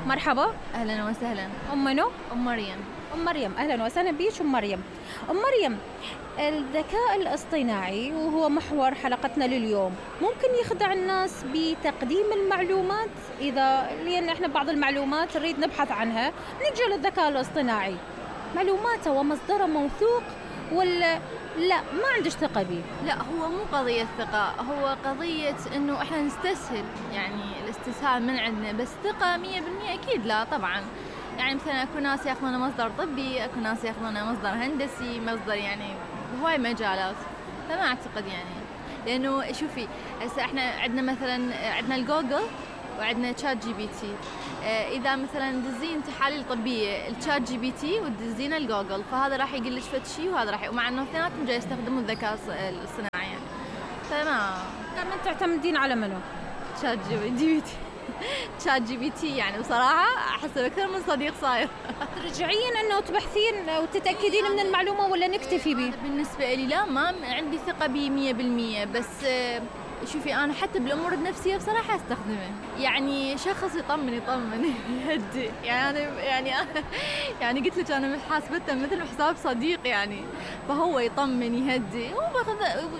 مرحبا. أهلا وسهلا. أم منو؟ أم مريم. أم مريم، أهلا وسهلا بيش أم مريم. أم مريم، الذكاء الاصطناعي وهو محور حلقتنا لليوم ممكن يخدع الناس بتقديم المعلومات، لأن احنا بعض المعلومات نريد نبحث عنها نلجأ للذكاء الاصطناعي. معلوماته ومصدره موثوق ولا لا ما عندش ثقة بيه؟ لا، هو مو قضية ثقة، هو قضية إنه إحنا نستسهل، يعني الاستسهال من عندنا، بس ثقة 100% أكيد لا طبعا. يعني مثلا أكو ناس ياخذونه مصدر طبي، أكو ناس ياخذونه مصدر هندسي، مصدر يعني هواي مجالات، فما أعتقد يعني. لأنه شوفي هسه إحنا عندنا مثلا عندنا الجوجل وعندنا شات جي بي تي. إذا مثلا دزين تحاليل طبية الشات جي بي تي ودزين الجوجل، فهذا راح يقول لك فد شيء وهذا راح، ومع إنه اثنيناتهم جاي يستخدموا الذكاء الاصطناعي يعني. فما تعتمدين على منو؟ شات جي بي تي. شات جي بي تي يعني بصراحة أحسه أكثر من صديق صاير. ترجعين إنه تبحثين وتتأكدين من المعلومة ولا نكتفي به؟ بالنسبة لي لا، ما عندي ثقة به 100%، بس شوفي أنا حتى بالأمور النفسية بصراحة أستخدمه. يعني شخص يطمن يهدي يعني قلت لك أنا حاسبته مثل حساب صديق يعني، فهو يطمن يهدي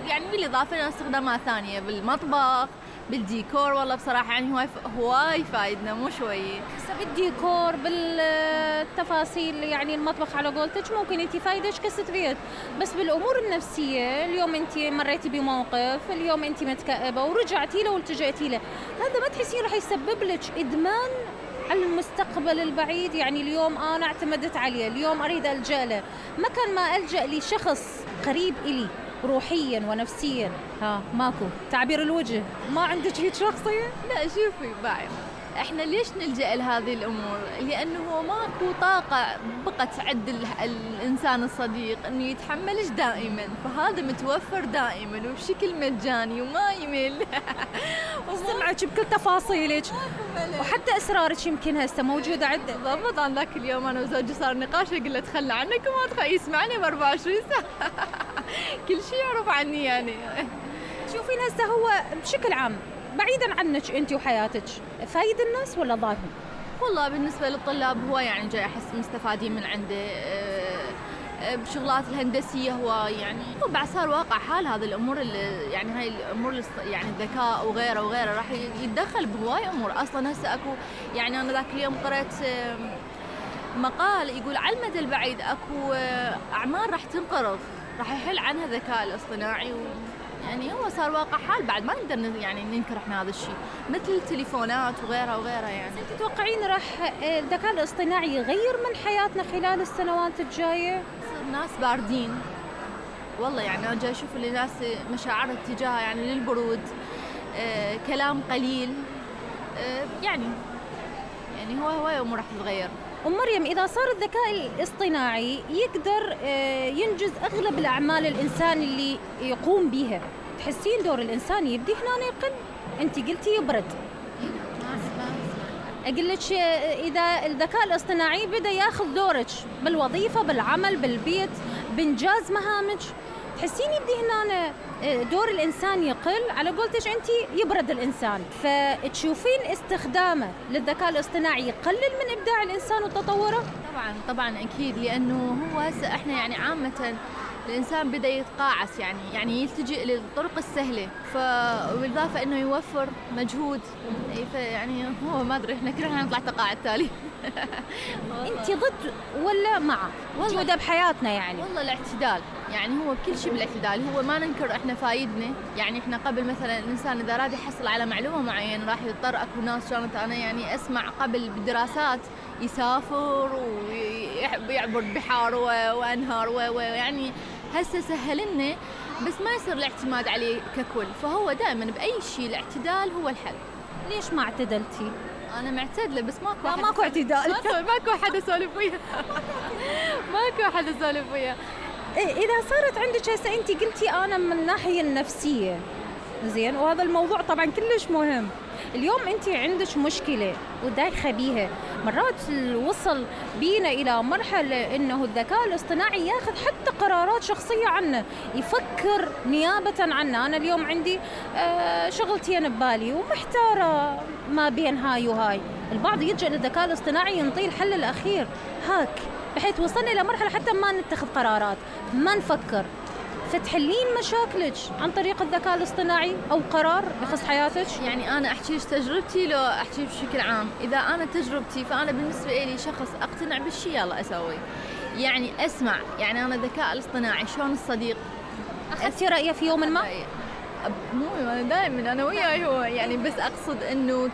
يعني بالإضافة إلى استخدامات ثانية بالمطبخ بالديكور. والله بصراحة يعني هواي فايدنا مو شوي. بالديكور بالتفاصيل يعني المطبخ على قولتك ممكن انت فايدش كستريت، بس بالامور النفسية اليوم انت مريتي بموقف، اليوم انت متكئبة ورجعتي له والتجأتي له، هذا ما تحسين راح يسبب لك ادمان على المستقبل البعيد؟ يعني اليوم انا اعتمدت عليه، اليوم اريد الجأ له، مكان ما الجأ لشخص قريب الي روحيا ونفسيا. ماكو تعبير الوجه، ما عندك هيك شخصية؟ لا شوفي بعد احنا ليش نلجأ لهذه الامور؟ لانه ماكو طاقة بقت عند الانسان الصديق انه يتحملش دائما، فهذا متوفر دائما وبشكل مجاني وما يمل. وسمعك بكل تفاصيلك وحتى اسرارك يمكن هسه موجودة عنده. بالضبط. عن ذاك اليوم انا وزوجي صار نقاش، اقول له تخلى عنك وما يسمعني ب 24 ساعة. كل شيء يعرف عني يعني. شوفين هسه هو بشكل عام بعيدا عنك انت وحياتك، فايد الناس ولا ضارهم؟ والله بالنسبة للطلاب هو يعني جاي أحس مستفادين من عنده. بشغلات الهندسية هو يعني بعد صار واقع حال هذه الأمور يعني هاي الأمور يعني الذكاء وغيره راح يتدخل بهواي أمور. أصلا هسه أكو يعني أنا ذاك اليوم قرأت مقال يقول على المدى البعيد أكو أعمال راح تنقرض، راح يحل عنها الذكاء الاصطناعي يعني هو صار واقع حال بعد ما نقدر يعني ننكر احنا هذا الشيء، مثل التليفونات وغيرها يعني. انت تتوقعين راح الذكاء الاصطناعي يغير من حياتنا خلال السنوات الجاية؟ الناس باردين والله، يعني انا جاي اشوف الناس مشاعرها اتجاه يعني للبرود، كلام قليل، يعني هو امور راح تتغير. أم مريم، إذا صار الذكاء الاصطناعي يقدر ينجز أغلب الأعمال الإنسان اللي يقوم بها، تحسين دور الإنسان يبدي هنا يقل؟ أنت قلتي يبرد. أقول لك إذا الذكاء الاصطناعي بدأ ياخذ دورك بالوظيفة بالعمل بالبيت بإنجاز مهامك، تحسين يبدي هنا دور الإنسان يقل، على قولتك أنت يبرد الإنسان، فتشوفين استخدامه للذكاء الاصطناعي يقلل من إبداع الإنسان وتطوره؟ طبعا أكيد، لأنه هو هسه إحنا يعني عامة الإنسان بدأ يتقاعس يعني يلتجئ للطرق السهلة، وبالإضافة إنه يوفر مجهود، يعني هو ما أدري إحنا كلنا نطلع تقاعد تالي. أنت ضد ولا مع وجوده بحياتنا؟ يعني والله الاعتدال، يعني هو بكل شيء بالاعتدال، هو ما ننكر إحنا فايدنا، يعني إحنا قبل مثلا الإنسان إذا أراد يحصل على معلومة معينة راح يضطر، أكو ناس كانت أنا يعني أسمع قبل بالدراسات يسافر ويعبر بحار وأنهار ويعني هسه سهل لنا، بس ما يصير الاعتماد عليه ككل، فهو دائما بأي شيء الاعتدال هو الحل. ليش ما اعتدلتي؟ أنا معتدلة بس ماكو اعتدال. ماكو أحد أسولف وياه. ماكو أحد أسولف وياه. إذا صارت عندك هسه أنت قلتي أنا من الناحية النفسية زين، وهذا الموضوع طبعا كلش مهم، اليوم أنت عندك مشكلة ودايخة بيها، مرات وصل بينا إلى مرحلة إنه الذكاء الاصطناعي ياخذ حتى قرارات شخصية عنا، يفكر نيابة عنا. أنا اليوم عندي شغلتين ببالي ومحتارة ما بين هاي وهاي، البعض يلجأ للذكاء الاصطناعي ينطيه الحل الأخير هاك، بحيث وصلنا إلى مرحلة حتى ما نتخذ قرارات، ما نفكر، فتحلين مشاكلك عن طريق الذكاء الاصطناعي أو قرار يخص حياتك. يعني أنا أحكي تجربتي لو أحكي بشكل عام. إذا أنا تجربتي فأنا بالنسبة لي شخص أقتنع بالشيء يلا أسوي، يعني أسمع. يعني أنا الذكاء الاصطناعي شلون الصديق، أخذتي رأيه في يوم ما؟ مو أنا دائما أنا وياي هو، يعني بس أقصد إنه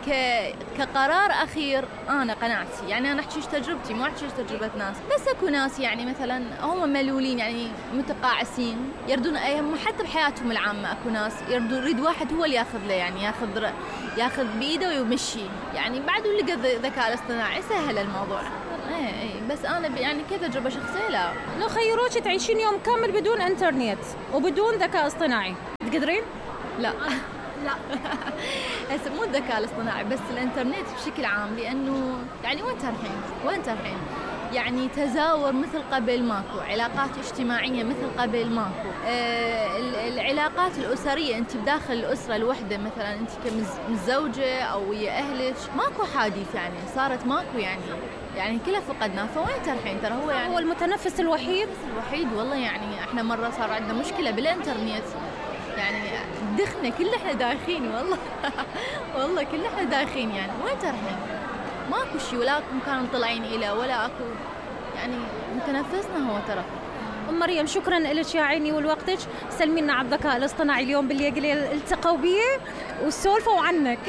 كقرار أخير أنا قناعتي. يعني أنا أحكيش تجربتي، مو أحكيش تجربة ناس. بس أكو ناس يعني مثلا هم ملولين، يعني متقاعسين، يردون حتى بحياتهم العامة أكو ناس يريد واحد هو اللي ياخذ له، يعني ياخذ بإيده ويمشي. يعني بعد اللي قد الذكاء الاصطناعي سهل الموضوع. اي بس انا يعني كتجربه شخصيه لا. لو خيروك تعيشين يوم كامل بدون انترنت وبدون ذكاء اصطناعي تقدرين؟ لا لا هسه مو الذكاء الاصطناعي بس الانترنت بشكل عام، لانه يعني وين ترحين يعني تزاور مثل قبل ماكو، علاقات اجتماعيه مثل قبل ماكو، العلاقات الاسريه انت بداخل الاسره الوحده مثلا انت كمتزوجه او ويا اهلك ماكو حديث، يعني صارت ماكو يعني كلها فقدناه. فوين ترحين؟ ترى هو يعني هو المتنفس الوحيد والله. يعني احنا مره صار عندنا مشكله بالانترنت، يعني دخنا كل احنا دايخين والله والله كل احنا دايخين. يعني وين ترحين؟ ماكو شيء، ولا مكان طلعين إلى ولا اكو، يعني متنفسنا هو ترى. ام مريم شكرا لك يا عيني ولوقتك، سلمينا على الذكاء الاصطناعي اليوم بالليل التقوا بيه وسولفوا عنك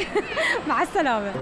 مع السلامه.